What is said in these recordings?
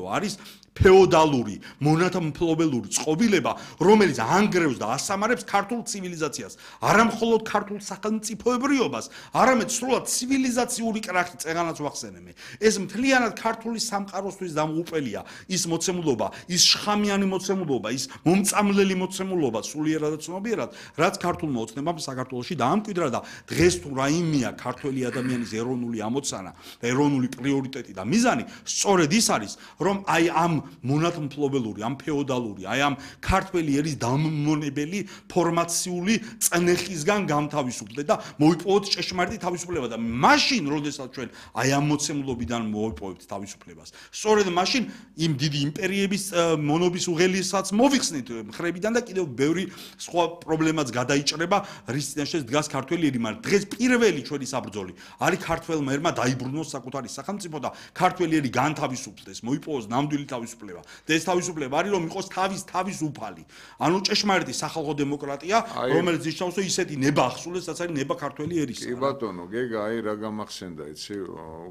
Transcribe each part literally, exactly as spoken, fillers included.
რომ არის ფეოდალური, მონათმფლობელური წყობილება, რომელიც ანგრევს და ასამარებს ქართულ ცივილიზაციას, არა მხოლოდ ქართულ სახელმწიფოებრიობას, არამედ სრულად ცივილიზაციური კრახი წეღანაც ვახსენე მე. ეს მთლიანად ქართული სამყაროსთვის დამოუყელია ის მოცემულობა, ის შხამიანი მოცემულობა, ის მომწამლელი მოცემულობა სულიერად და ცნობიერად, რაც ქართულმა ოცნებამ საქართველოში დაამკვიდრა და დღეს თუ რაიმეა ქართველი ადამიანის ეროვნული ამოცანა და ეროვნული პრიორიტეტი და მიზანი, სწორედ ის არის, რომ აი ამ მონათმფლობელური, ამ ფეოდალური, აი ამ ქართველი ერის დამმონებელი ფორმაციული წნეხისგან გამთავისუფლდეთ და მოიპოვოთ ჭეშმარიტი თავისუფლება და მაშინ, როდესაც ჩვენ აი ამ მოცემულობიდან მოიპოვებთ თავისუფლებას, სწორედ მაშინ იმ დიდი იმპერიების მონობის უღელესაც მოვიხსნით მხრებიდან და კიდევ ბევრი სხვა პრობლემაც გადაიჭრება, რის წინაშე დგას ქართველი ერი, მაგრამ დღეს პირველი ჩვენი საბრძოლი არის ქართველმა ერმა დაიბრუნოს საკუთარი სახელმწიფო და ქართველი ერი განთავისუფლდეს, მოიპოვოს ნამდვილი თავისუფლება. და ეს თავისუფლება არის რომ იყოს თავის თავისუფალი. ანუ ჭეშმარიტი სახალხო დემოკრატია, რომელიც ნიშნავს რომ ისეთი ნება ახსულეს, რაც არის ნება ქართველი ერისა. კი ბატონო, გეგა, აი რა გამახსენდა, იცი,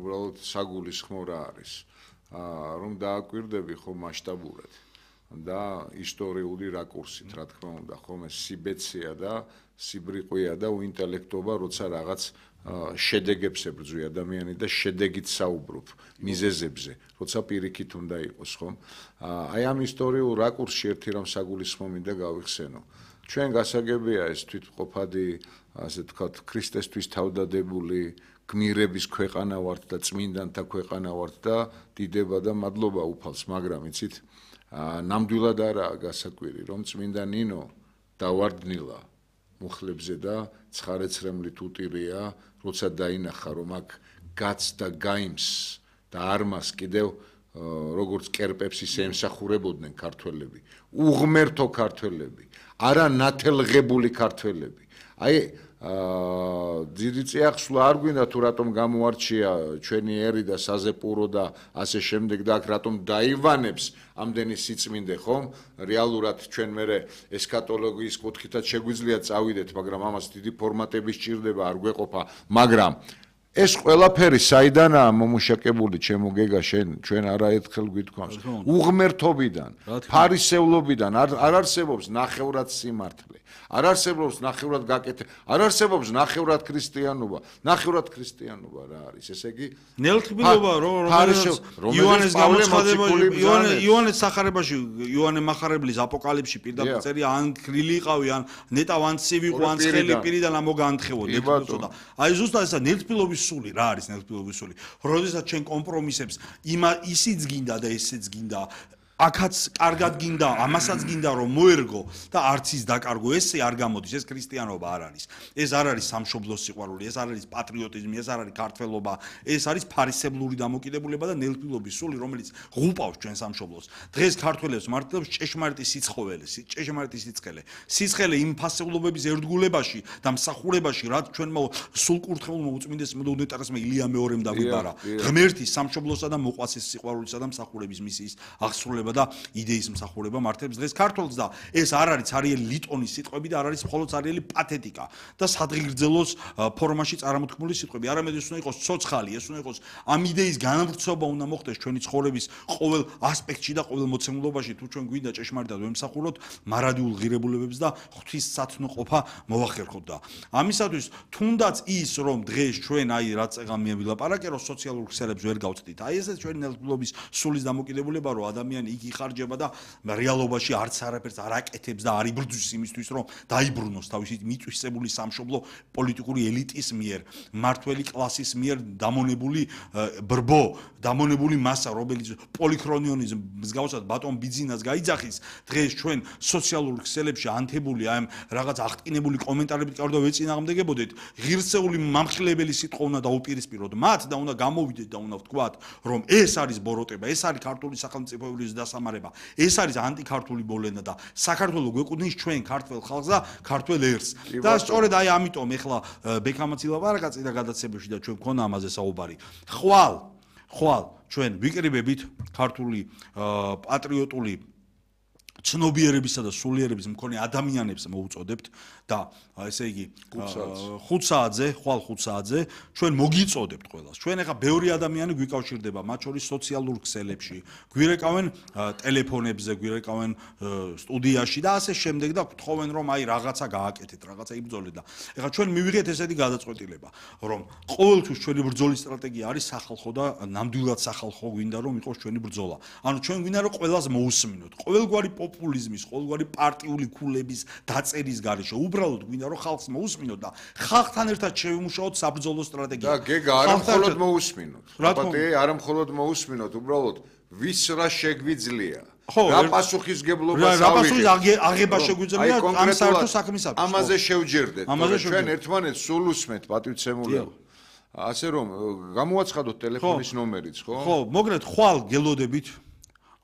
უბრალოდ საგულისხმო რა არის. რომ დააკვირდები ხო მასშტაბურად და ისტორიული რაკურსით, რა თქმა უნდა, ხომ ეს სიბეცია და სიბრიყვია და უინტელექტობა, როცა რაღაც შედეგებს ებრძვი ადამიანი და შედეგით საუბრობ მიზეზებზე, როცა პირიქით უნდა იყოს, ხომ? აი ამ ისტორიულ რაკურსში ერთი რამ საგულისხმო მინდა გავიხსენო. ჩვენ გასაგებია ეს თვითმყოფადი, ასე ვთქვათ, ქრისტესთვის თავდადებული გმირების ქვეყანა ვართ და წმინდანთა ქვეყანა ვართ და დიდება და მადლობა უფალს, მაგრამ იცით, ნამდვილად არაა გასაკვირი, რომ წმინდა ნინო დავარდნილა მუხლებზე და ცხარეცრემლით უტირია, როცა დაინახა, რომ აქ გაც და გაიმს და არმას კიდევ როგორც კერპებს ისე ემსახურებოდნენ ქართველები, უღმერთო ქართველები, არა ნათელღებული ქართველები. აი დიდი წიაღსვლა არ გვინდა თუ რატომ გამოარჩია ჩვენი ერი და საზეპურო და ასე შემდეგ და აქ რატომ დაივანებს ამდენი სიწმინდე, ხომ? რეალურად ჩვენ მერე ესქატოლოგიის კუთხითაც შეგვიძლია წავიდეთ, მაგრამ ამას დიდი ფორმატები სჭირდება, არ გვეყოფა, მაგრამ ეს ყველაფერი საიდანაა მომუშაკებული, ჩემო გეგა, შენ ჩვენ არაერთხელ გვითქვამს, უღმერთობიდან, ფარისევლობიდან, არ არსებობს ნახევრად სიმართლე. არ არსებობს ნახევრად გაკეთე, არ არსებობს ნახევრად ქრისტიანობა, ნახევრად ქრისტიანობა რა არის? ესე იგი ნელთბილობა რომელიც იოანეს გამოცხადებაში, იოანეს სახარებაში, იოანე მახარებლის აპოკალიფში პირდაპირ წერია, ან ქრილი იყავი, ან ნეტავ ან ცივი ყო, ან ცხელი პირიდან ამოგანთხევო, ნელთბილობა. აი ზუსტად ესა ნელთბილობის სული, რა არის ნელთბილობის სული? როდესაც ჩვენ კომპრომისებს იმა ისიც გინდა და ესეც გინდა აქაც კარგად გინდა, ამასაც გინდა რომ მოერგო და არც ის დაკარგო, ესე არ გამოდის, ეს ქრისტიანობა არ არის. ეს არ არის სამშობლოს სიყვარული, ეს არ არის პატრიოტიზმი, ეს არ არის ქართველობა, ეს არის ფარისევლური დამოკიდებულება და ნელთბილობის სული, რომელიც ღუპავს ჩვენ სამშობლოს. დღეს ქართველებს მართლობს ჭეშმარიტი სიცხოველი, ჭეშმარიტი სიცხელე. სიცხელე იმ ფასეულობების ერთგულებაში და მსახურებაში, რაც ჩვენმა სულკურთხეულმა უწმინდესმა და უნეტარესმა ილია მეორემ დაგვიბარა. ღმერთის სამშობლოსა და მოყვასის სიყვარულისა და მსახურების მისიის აღსრულება და იდეის მსახურება მართლებს დღეს ქართულს და ეს არ არის ცარიელი ლიტონის სიტყვები და არ არის მხოლოდ ცარიელი პათეტიკა და სადღიგრძელოს ფორმაში წარმოთქმული სიტყვები, არამედ ეს უნდა იყოს ცოცხალი, ეს უნდა იყოს ამ იდეის განვრცობა უნდა მოხდეს ჩვენი ცხოვრების ყოველ ასპექტში და ყოველ მოცემულობაში, თუ ჩვენ გვინდა ჭეშმარიტად ვემსახუროთ მარადიულ ღირებულებებს და ღვთისმსათნოყოფა მოვახერხოთ და ამისათვის თუნდაც ის რომ დღეს ჩვენ აი რაც წეგამია ვილაპარაკე რომ სოციალურ ქსელებს ვერ გავწდით, აი ესეც ჩვენი ნელთბილობის სულის დამოკიდებულება რომ ადამიანი იხარჯება და რეალობაში არც არაფერს არ აკეთებს და არ იბრძვის იმისთვის რომ დაიბრუნოს თავისი მიწვისებული სამშობლო პოლიტიკური ელიტის მიერ, მართველი კლასის მიერ დამონებული ბრბო, დამონებული მასა, რომელიც პოლიქრონიონის მსგავსად ბატონ ბიძინას გაიძახის, დღეს ჩვენ სოციალურ ქსელებში ანთებული აი რაღაც აღტკინებული კომენტარებით კარდა ვეწინააღმდეგებოდეთ, ღირსეული მამხილებელი სიტყვა უნდა დაუპირისპიროთ მათ და უნდა გამოვიდეთ და უნდა ვთქვათ, რომ ეს არის ბოროტება, ეს არის ქართული სახელმწიფოებრივი დასამარება. ეს არის ანტიქართული ბოლენა და საქართველოს გვეკუთვნის ჩვენ ქართველ ხალხს და ქართველ ერს. და სწორედ აი ამიტომ ეხლა ბექამაც ილაპარაკა წინა გადაცემებში და ჩვენ გქონდა ამაზე საუბარი. ხვალ, ხვალ ჩვენ ვიკრიბებით ქართული პატრიოტული ცნობიერებისა და სულიერების მქონე ადამიანებს მოვუწოდებთ და ესე იგი ხუთ საათზე, ხვალ ხუთ საათზე ჩვენ მოგიწოდებთ ყველას. ჩვენ ახლა ბევრი ადამიანი გვიკავშირდება, მათ შორის სოციალურ ქსელებში, გვირეკავენ ტელეფონებზე, გვირეკავენ სტუდიაში და ასე შემდეგ და გთხოვენ რომ აი რაღაცა გააკეთეთ, რაღაცა იბრძოლეთ და ახლა ჩვენ მივიღეთ ესეთი გადაწყვეტილება, რომ ყოველთვის ჩვენი ბრძოლის სტრატეგია არის სახალხო და ნამდვილად სახალხო გვინდა რომ იყოს ჩვენი ბრძოლა. ანუ ჩვენ გვინდა რომ ყველას მოусმინოთ. ყოველგვარი პოპულიზმის, ყოველგვარი პარტიული ქულების დაწერის გარეშე უბრალოდ გვინდა რომ ხალხს მოусმინოთ და ხალხთან ერთად შევიმუშაოთ საბრძოლო სტრატეგია. და გეგა არა მხოლოდ მოусმინოთ. აბათე არა მხოლოდ მოусმინოთ, უბრალოდ ვის რა შეგვიძლია. რა პასუხისგებლობას რა პასუხის აღება შეგვიძლია ამ საერთო საქმისათვის. ამაზე შევჯერდეთ. ჩვენ ერთმანეთს სულ უსმენთ პატივცემულებ. ასე რომ გამოაცხადოთ ტელეფონის ნომერიც, ხო? ხო, მოგნეთ ხვალ გელოდებით.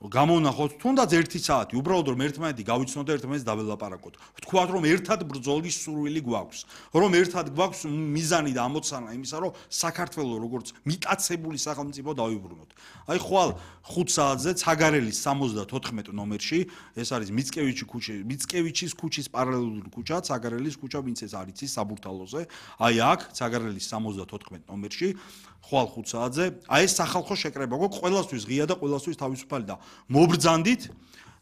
გამოვნახოთ თუნდაც ერთი საათი, უბრალოდ რომ ერთმანეთი გავიცნოთ და ერთმანეთს დაველაპარაკოთ. ვთქვათ რომ ერთად ბრძოლის სურვილი გვაქვს, რომ ერთად გვაქვს მიზანი და ამოცანა იმისა, რომ საქართველოს როგორც მიტაცებული სახელმწიფო დავიბრუნოთ. აი ხვალ ხუთ საათზე ცაგარელის სამოცდათოთხმეტ ნომერში, ეს არის მიცკევიჩის ქუჩა, მიცკევიჩის ქუჩის პარალელური ქუჩა, ცაგარელის ქუჩა, ვინც ეს არის ის საბურთალოზე. აი აქ ცაგარელის სამოცდათოთხმეტ ნომერში ხვალ ხუთ საათზე, აი ეს სახალხო შეკრება გვაქვს, ყველასთვის ღია და ყველასთვის თავისუფალი და მობრძანდით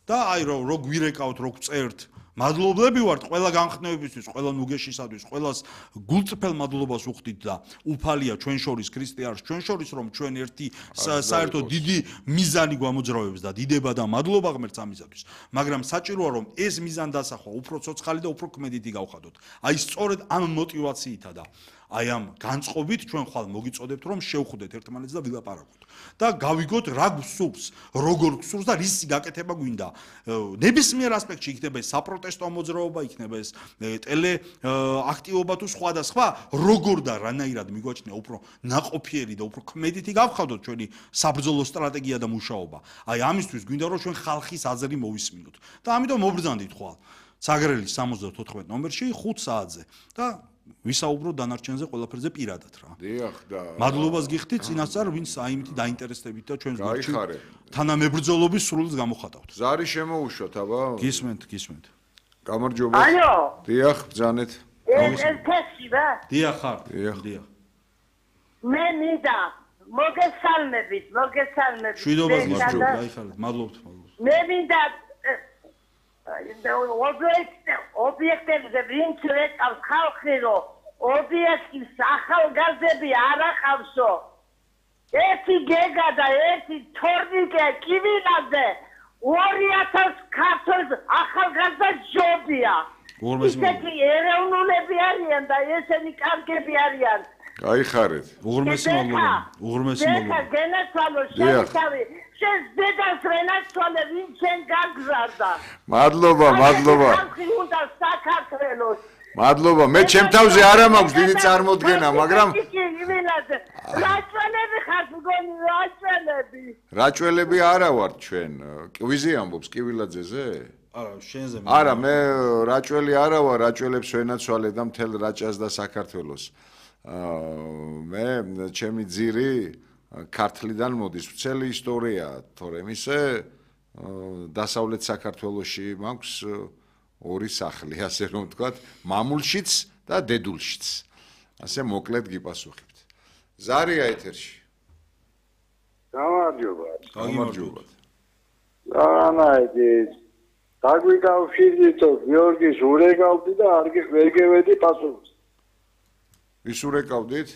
და აი რო რო გვირეკავთ, რო გწერთ. მადლობლები ვართ ყველა განხნევებისთვის, ყველა ნუგეშისათვის, ყველას გულწრფელ მადლობას უხდით და უფალია ჩვენ შორის ქრისტიანს, ჩვენ შორის რომ ჩვენ ერთი საერთო დიდი მიზანი გვამოძრავებს და დიდება და მადლობა ღმერთს ამისათვის. მაგრამ საჭიროა რომ ეს მიზანი დასახვა უფრო ცოცხალი და უფრო ქმედითი გავხადოთ. აი სწორედ ამ мотивაციითა და აი ამ განწყობით ჩვენ ხვალ მოგიწოდებთ რომ შევხვდეთ ერთმანეთს და ვილაპარაკოთ და გავიგოთ რა გსურს, როგორ გსურს და რის გაკეთება გვინდა. ნებისმიერ ასპექტში იქნება ეს საპროტესტო მოძრაობა, იქნება ეს ტელე აქტივობა თუ სხვა და სხვა, როგორ და რანაირად მიგვაჩნია უფრო ნაყოფიერი და უფრო ქმედითი გავხადოთ ჩვენი საბრძოლო სტრატეგია და მუშაობა. აი ამისთვის გვინდა რომ ჩვენ ხალხის აზრი მოვისმინოთ და ამიტომ მობრძანდით ხვალ ცაგარელის სამოცდათოთხმეტ ნომერში ხუთ საათზე და ვისაუბროთ დანარჩენზე ყველაფერზე პირადად რა. დიახ და მადლობას გიხდით წინასწარ ვინც აიმით დაინტერესდებით და ჩვენს გულში თანამებრძოლობის სრულს გამოხატავთ. ზარი შემოუშვათ, აბა? გისმენთ, გისმენთ. გამარჯობა. ალო. დიახ, ბრძანეთ. ეს ტექსტი რა? დიახ ხარ. დიახ. დიახ. მე მინდა მოგესალმებით, მოგესალმებით. შვიდობას გისურვებთ, გაიხარეთ. მადლობთ, მადლობთ. მე მინდა ობიექტებზე ვინც ეკავს ხალხი რომ ობიექტის ახალგაზრდები არ ახავსო ერთი გეგა და ერთი თორნიკე კივილაძე ორი ათას ქართველ ახალგაზრდა ჯობია ისეთი ეროვნულები არიან და ესენი კარგები არიან გაიხარეთ უღრმესი მადლობა უღრმესი მადლობა გენაცვალო შევთავი შენ დედას რენაცვალე ვინ შენ გაგზარდა მადლობა მადლობა ხალხი უნდა საქართველოს მადლობა მე ჩემ თავზე არ მაქვს დიდი წარმოდგენა მაგრამ რაჭველები ხართ მგონი რაჭველები რაჭველები არა ვართ ჩვენ კვიზი ამბობს კივილაძეზე არა შენზე არა მე რაჭველი არა ვარ რაჭველებს ვენაცვალე და მთელ რაჭას და საქართველოს მე ჩემი ძირი ქართლიდან მოდის მთელი ისტორია თორემ ისე დასავლეთ საქართველოში მაქვს ორი სახლი ასე რომ ვთქვათ მამულშიც და დედულშიც ასე მოკლედ გიპასუხებთ ზარია ეთერში გამარჯობა გამარჯობა ანაიდი დაგვიკავშირდითო გიორგის ურეკავდი და არ ვერ გევედი პასუხს ვის ურეკავდით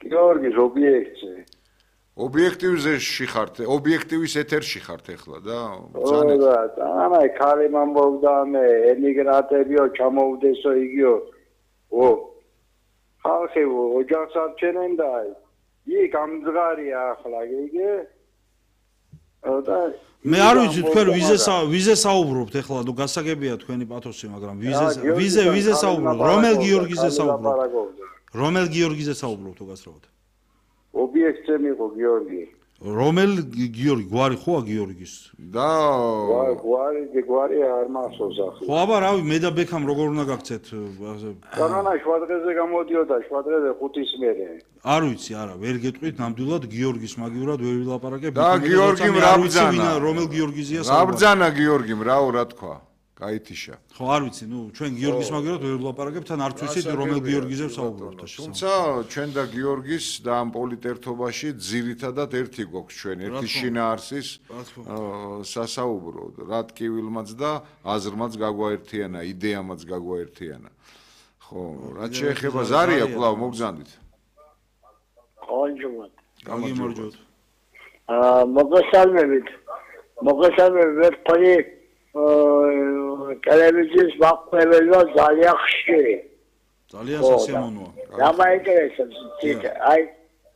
გიორგის ობიექტზე ობიექტივზე შეხართ ობიექტივის ეთერში ხართ ახლა და ბრძანეთ და ანაი ქალი მომბოვდა მე ემიგრანტებიო ჩამოვდესო იგიო ო ხალხი ოჯახს არჩენენ და ი გამძღარია ახლა გიგე და მე არ ვიცი თქვენ ვიზე ვიზე საუბრობთ ახლა თუ გასაგებია თქვენი პათოსი მაგრამ ვიზე ვიზე ვიზე საუბრობთ რომელ გიორგიზე საუბრობთ რომელ გიორგიზე საუბრობთ თუ გასწრებთ ობიექტზე მიყო გიორგი რომელ გიორგი გვარი ხოა გიორგის და გვარი გვარი არ მახსოვს ახლა ხო აბა რავი მე და ბექამ როგორ უნდა გაქცეთ კანონა შვადღეზე გამოდიოდა შვადღეზე ხუთის მერე არ ვიცი არა ვერ გეტყვით ნამდვილად გიორგის მაგივრად ვერ ვილაპარაკებ და გიორგიმ რა ბძანა რომელ გიორგიზია რა ბძანა გიორგიმ რაო რა თქვა გაითიშა ხო არ ვიცი ნუ ჩვენ გიორგის მაგივრად ვერ ვილაპარაკებ თან არც ვიცით რომელ გიორგიზე ვსაუბრობთ თუმცა ჩვენ და გიორგის და ამ პოლიტერთობაში ძირითადად ერთი გვაქვს ჩვენ ერთი შინაარსის სასაუბრო რა ტკივილმაც და აზრმაც გაგვაერთიანა იდეამაც გაგვაერთიანა ხო რაც შეეხება ზარია კვლავ მოგზანდით კონჯუმად გამიმორჯოთ აა მოგესალმებით მოგესალმებით თქვენი ტელევიზიის მაყურებელმა ძალიან ხშირი ძალიან სასიამოვნოა რა მაინტერესებს აი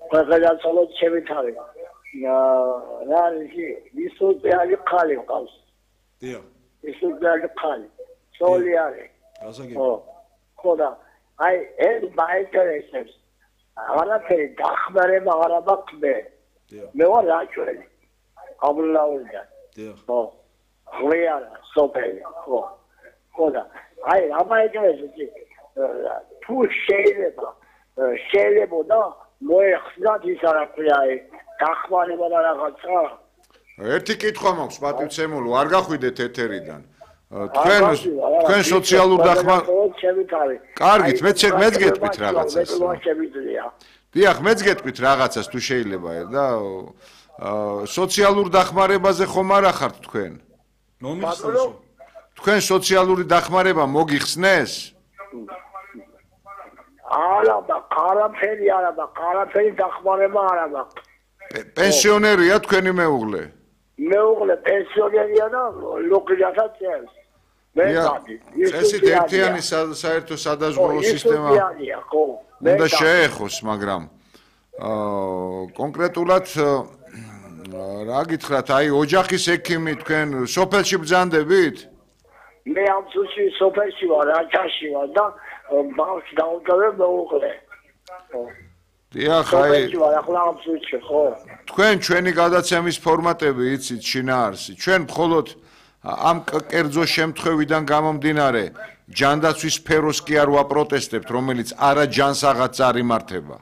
ყველგან ჩემი თავი რა ისე ისოციალი ხალი ყავს დიახ ისოციალი ხალი სოლი არის გასაგები ხო ხო და აი ეს მაინტერესებს არაფერი დახმარება არ აქვს მე მე ვარ რაჭველი აბლაულიდან დიახ ხო ღვიარა სოფელი ხო ხო და აი რა მაინტერესებს თუ შეიძლება შეიძლება და მოეხსნათ ის არაფერი აი დახმარება და რაღაცა ერთი კითხვა მაქვს პატივცემულო არ გახვიდეთ ეთერიდან თქვენ თქვენ სოციალურ დახმარებას კარგით მეც მეც გეტყვით რაღაცას დიახ მეც გეტყვით რაღაცას თუ შეიძლება და სოციალურ დახმარებაზე ხომ არ ახართ თქვენ მომიხსნეს თქვენ სოციალური დახმარება მოგიხსნეს არა და არაფერი არა და არაფერი დახმარება არა და პენსიონერია თქვენი მეუღლე მეუღლე პენსიონერია და ლოქიასაც წევს მე გადი ესეთ ერთიანი საერთო სადაზღვევო სისტემა უნდა შეეხოს მაგრამ კონკრეტულად რა გითხრათ აი ოჯახის ექიმი თქვენ სოფელში ბრძანდებით მე ამ სუში სოფელში ვარ რაჭაში ვარ და ბავშვს დავუდგავე მეუღლე დიახ აი ხო თქვენ ჩვენი გადაცემის ფორმატები იცით შინაარსი ჩვენ მხოლოდ ამ კერძო შემთხვევიდან გამომდინარე ჯანდაცვის სფეროს კი არ ვაპროტესტებთ რომელიც არა ჯანსაღაც არ იმართება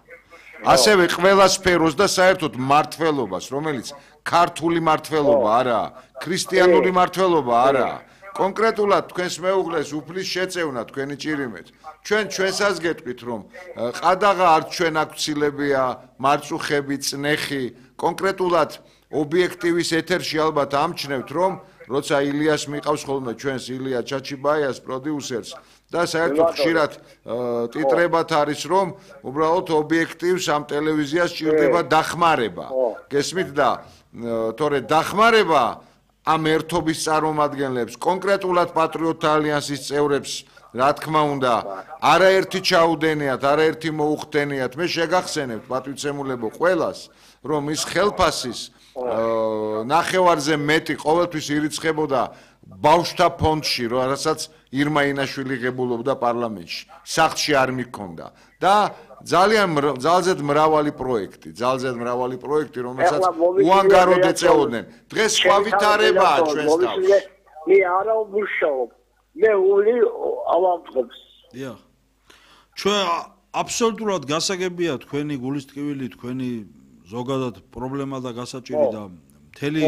ასევე ყველა სფეროს და საერთოდ მართლობას რომელიც ქართული მართლობა არაა ქრისტიანული მართლობა არაა კონკრეტულად თქვენს მეუღლეს უფლის შეწევნა თქვენი ჭირიმეთ ჩვენ ჩვენსაც გეტყვით რომ ყადაღა არ ჩვენ აქცილებია მარწუხები წნეხი კონკრეტულად ობიექტივის ეთერში ალბათ ამჩნევთ რომ როცა ილიას მიყავს ხოლმე ჩვენს ილია ჩაჩიბაიას პროდიუსერს და საერთოდ ხშირად ტიტრებად არის რომ უბრალოდ ობიექტივს ამ ტელევიზიას ჭირდება დახმარება გესმით და თორე დახმარება ამ ერთობის წარმომადგენლებს კონკრეტულად პატრიოტთა ალიანსის წევრებს რა თქმა უნდა არაერთი ჩაუდენიათ არაერთი მოუხდენიათ მე შეგახსენებთ პატივცემულებო ყველას რომ ის ხელფასის ნახევარზე მეტი ყოველთვის ირიცხებოდა ბავშვთა ფონდში რასაც ირმა ინაშვილი ღებულობდა პარლამენტში სახლში არ მიქონდა და ძალიან ძალზედ მრავალი პროექტი ძალზედ მრავალი პროექტი რომელსაც უანგაროდ ეწეოდნენ დღეს სხვა ვითარებაა ჩვენს თავში მე არა ვმუშაობ მე ული ავამწყობს დიახ ჩვენ აბსოლუტურად გასაგებია თქვენი გულისტკივილი თქვენი ზოგადად პრობლემა და გასაჭირი და მთელი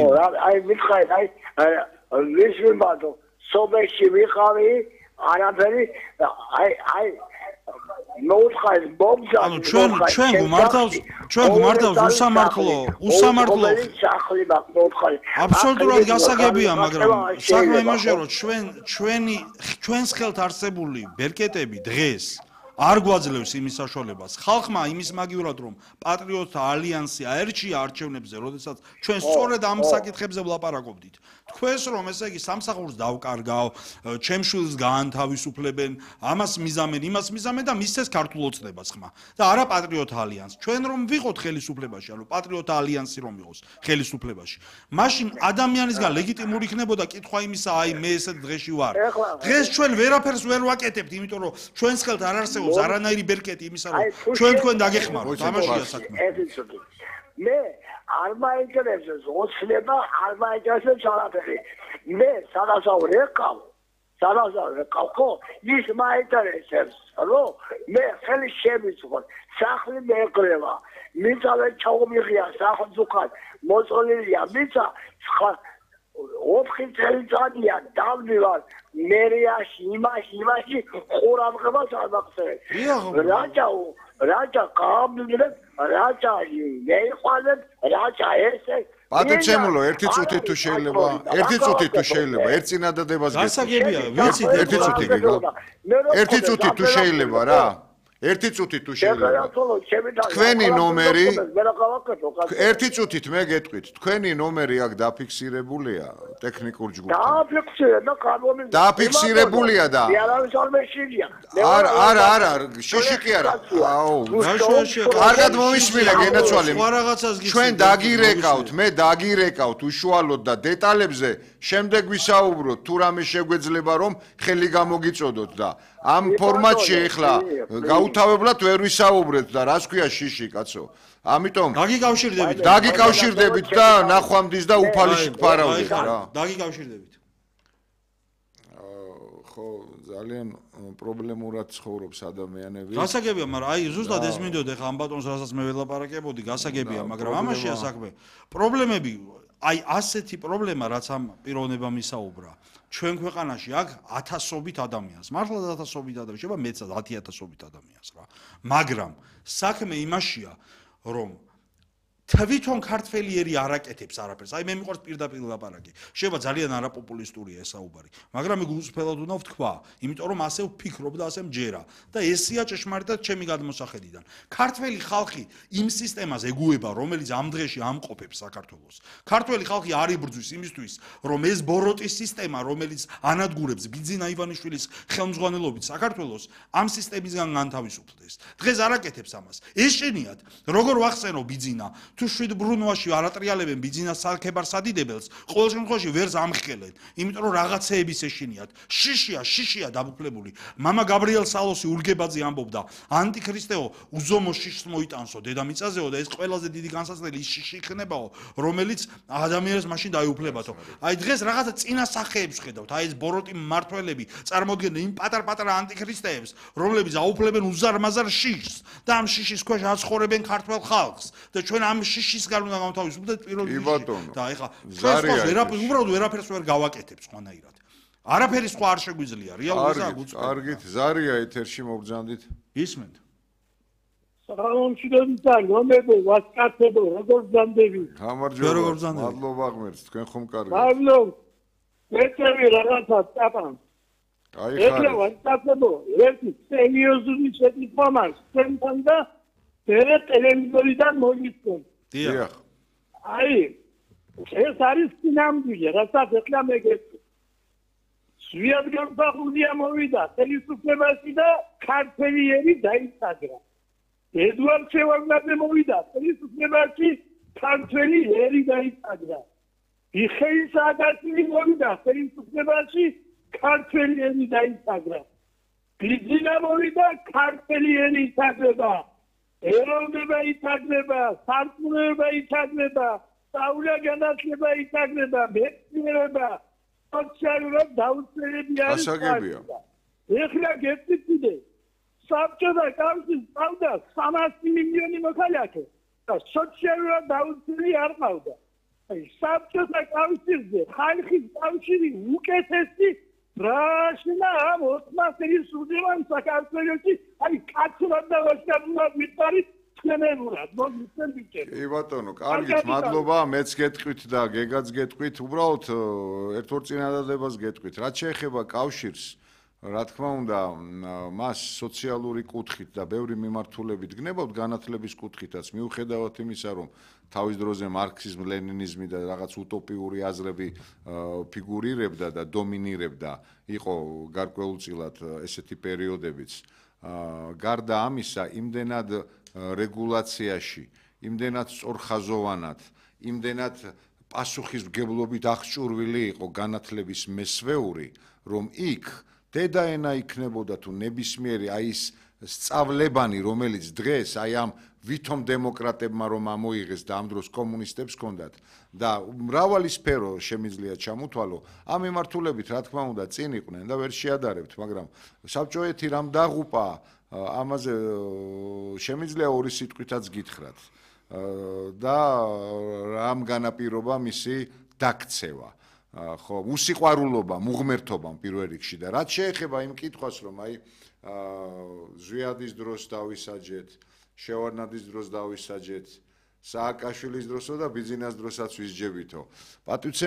აი მითხარით აი ის ვიმბადო სოფელში ვიყავი არაფერი აი აი მოუთხარ ბომბა ანუ ჩვენ ჩვენ გმართავს ჩვენ გმართავს უსამართლო უსამართლო სახლი მოუთხარ აბსოლუტურად გასაგებია მაგრამ საქმე იმაშია რომ ჩვენ ჩვენი ჩვენს ხელთ არსებული ბერკეტები დღეს არ გვაძლევს იმის საშუალებას ხალხმა იმის მაგივრად რომ პატრიოტთა ალიანსი აერჩია არჩევნებზე როდესაც ჩვენ სწორედ ამ საკითხებზე ვლაპარაკობდით თქვენს რომ ესე იგი სამსახურს დავკარგავ ჩემს შვილს გაანთავისუფლებენ ამას მიზამენ იმას მიზამენ და მისცეს ქართულ ოცნებას ხმა და არა პატრიოტთა ალიანსი ჩვენ რომ ვიყოთ ხელისუფლებაში ანუ პატრიოტთა ალიანსი რომ იყოს ხელისუფლებაში მაშინ ადამიანისგან ლეგიტიმური იქნებოდა კითხვა იმისა აი მე ესეთ დღეში ვარ დღეს ჩვენ ვერაფერს ვერ ვაკეთებთ იმიტომ რომ ჩვენს ხელთ არ არსებობს არანაირი ბერკეტი იმისა რომ ჩვენ თქვენ დაგეხმაროთ თამაშია საქმე მე არ მაინტერესებს ოცნება, არ მაინტერესებს არაფერი. მე სადასავლე ყავ, სადასავლე ყავ, ხო, ის მაინტერესებს, რომ მე ხელი შემიწყოთ, სახლი მეყრევა, მიწავე ჩაუმიღია სახელმწიფოდ, მოწოლილია მიწა, სხვა ოთხი წელიწადია დავდივარ მერიაში, იმაში, იმაში ყურამღებას არ მახსენებ. რაჭა, რაჭა გამძლებ, რაჭა მეიყვანებ, რაჭა ესე. პატიცემულო, ერთი წუთი თუ შეიძლება, ერთი წუთი თუ შეიძლება, ერთ წინადადებას გეტყვი. გასაგებია, ვიცით, ერთი წუთი გიგო. ერთი წუთი თუ შეიძლება რა. ერთი წუთი თუ შეიძლება. თქვენი ნომერი ერთი წუთით მე გეტყვით, თქვენი ნომერი აქ დაფიქსირებულია ტექნიკურ ჯგუფთან. დააფიქსირე და კანონი დაფიქსირებულია და არა, არა, არა, შიში კი არა. აუ, კარგად მომისმინე გენაცვალე. ჩვენ დაგირეკავთ, მე დაგირეკავთ უშუალოდ და დეტალებზე შემდეგ ვისაუბროთ, თუ რამე შეგვეძლება რომ ხელი გამოგიწოდოთ და ამ ფორმატში ეხლა გაუთავებლად ვერ ვისაუბრეთ და რას ქვია შიში კაცო. ამიტომ დაგიკავშირდებით. დაგიკავშირდებით და ნახვამდის და უფალიში გფარავდეთ რა. დაგიკავშირდებით. ხო, ძალიან პრობლემურად ცხოვრობს ადამიანები. გასაგებია, მაგრამ აი ზუსტად ეს მინდოდა ხა ამ ბატონს რასაც მე ველაპარაკებოდი, გასაგებია, მაგრამ ამაშია საქმე. პრობლემები, აი ასეთი პრობლემა რაც ამ პიროვნებამ ისაუბრა. ჩვენ ქვეყანაში აქ ათასობით ადამიანს, მართლაც ათასობით ადამიანს, შეიძლება მეც ათი ათასობით ადამიანს რა. მაგრამ საქმე იმაშია, რომ თვითონ ქართველიერი არ აკეთებს არაფერს. აი მე მიყვარს პირდაპირ ლაპარაკი. შეიძლება ძალიან არაპოპულისტურია ეს საუბარი, მაგრამ მე გულწრფელად უნდა ვთქვა, იმიტომ რომ ასე ვფიქრობ და ასე მჯერა და ესია ჭეშმარიტად ჩემი გადმოსახედიდან. ქართველი ხალხი იმ სისტემას ეგუება, რომელიც ამ დღეში ამყოფებს საქართველოს. ქართველი ხალხი არ იბრძვის იმისთვის, რომ ეს ბოროტის სისტემა, რომელიც ანადგურებს ბიძინა ივანიშვილის ხელმძღვანელობით საქართველოს, ამ სისტემისგან განთავისუფლდეს. დღეს არ აკეთებს ამას. ეშენიათ, როგორ ვახსენო ბიძინა თუ შვიდ ბრუნვაში არატრიალებენ ბიძინას სალქებარ სადიდებელს, ყოველ შემთხვევაში ვერს ამხელენ, იმიტომ რომ რაღაცეების ეშინიათ. შიშია, შიშია დაბუკლებული. მამა გაბრიელ სალოსი ურგებაძე ამბობდა, ანტიქრისტეო უზომო შიშს მოიტანსო დედამიწაზეო და ეს ყველაზე დიდი განსაცდელი ის შიში იქნებაო, რომელიც ადამიანს მაშინ დაეუფლებათო. აი დღეს რაღაცა წინა სახეებს ხედავთ, აი ეს ბოროტი მმართველები წარმოადგენენ იმ პატარ-პატარა ანტიქრისტეებს, რომლებიც აუფლებენ უზარმაზარ შიშს და ამ შიშის ქვეშ აცხოვრებენ ქართველ ხალხს და ჩვენ ამ შიშისგან უნდა გამთავისუფლდეთ პირველ რიგში. და ეხლა ჩვენ ვერაფერს უბრალოდ ვერაფერს ვერ გავაკეთებს ყველანაირად. არაფერი სხვა არ შეგვიძლია, რეალურია გუწევთ. კარგით, ზარია ეთერში მოგბრძანდით. ისმენთ. სახელმწიფოებთან რომლებო ვასკაცებო როგორ ბრძანდები? გამარჯობა. მადლობა ღმერთს, თქვენ ხომ კარგად. მადლობ. მეწევი რაღაცა წაპან. აი ხარ. ეხლა ვასკაცებო, ერთი სერიოზული შეკითხვა მაქვს თქვენთან და მე ტელევიზორიდან მოგიწევ. დიახ. აი, ეს არის სინამდვილე, რასაც ეხლა მე გეტყვი. სვიადგანსახურდია მოვიდა ხელისუფლებაში და ქართველიერი დაიცაგრა. ედუარდ შევარდნაძე მოვიდა ხელისუფლებაში, ქართველიერი დაიცაგრა. მიხეილ სააკაშვილი მოვიდა ხელისუფლებაში, ქართველიერი დაიცაგრა. ბიძინა მოვიდა ქართველიერი იცაგრება. ეროვნება იცაგრება, სარწმუნოება იცაგრება, სწავლა განათლება იცაგრება, მეცნიერება, სოციალურად დაუცველები არის. გასაგებია. ეხლა გეტყვით, საბჭოთა კავშირს ყავდა სამასი მილიონი მოქალაქე და სოციალურად დაუცველი არ ყავდა. აი საბჭოთა კავშირზე ხალხის კავშირი უკეთესი რაშინა ამ ოსმალეთის სულიმან საქართველოში აი კაცურად და ვაშკარულად ვიტარით თქვენებურად მოგიცემ ბიჭები. კი ბატონო, კარგით, მადლობა, მეც გეტყვით და გეგაც გეტყვით, უბრალოდ ერთ-ორ წინადადებას გეტყვით. რაც შეეხება კავშირს, რა თქმა უნდა, მას სოციალური კუთხით და ბევრი მიმართულებით გნებავთ განათლების კუთხითაც, მიუხედავად იმისა, რომ თავის დროზე მარქსიზმ, ლენინიზმი და რაღაც უტოპიური აზრები ფიგურირებდა და დომინირებდა, იყო გარკვეულწილად ესეთი პერიოდებიც. გარდა ამისა, იმდენად რეგულაციაში, იმდენად სწორხაზოვანად, იმდენად პასუხისმგებლობით აღჭურვილი იყო განათლების მესვეული, რომ იქ დედაენა იქნებოდა თუ ნებისმიერი აი ის სწავლებანი, რომელიც დღეს აი ამ ვითომ დემოკრატებმა რომ ამოიღეს და ამ დროს კომუნისტებს ჰქონდათ და მრავალი სფერო შემიძლია ჩამოთვალო, ამ მიმართულებით რა თქმა უნდა წინ იყვნენ და ვერ შეადარებთ, მაგრამ საბჭოეთი რამ დაღუპა, ამაზე შემიძლია ორი სიტყვითაც გითხრათ და რამ განაპირობა მისი დაქცევა. ხო, უსიყვარულობა, მუღმერთობა პირველ რიგში და რაც შეეხება იმ კითხვას, რომ აი ზვიადის დროს დავისაჯეთ, შევარნაძის დროს დავისაჯეთ, სააკაშვილის დროსო და ბიძინას დროსაც ვისჯებითო. პატივცემ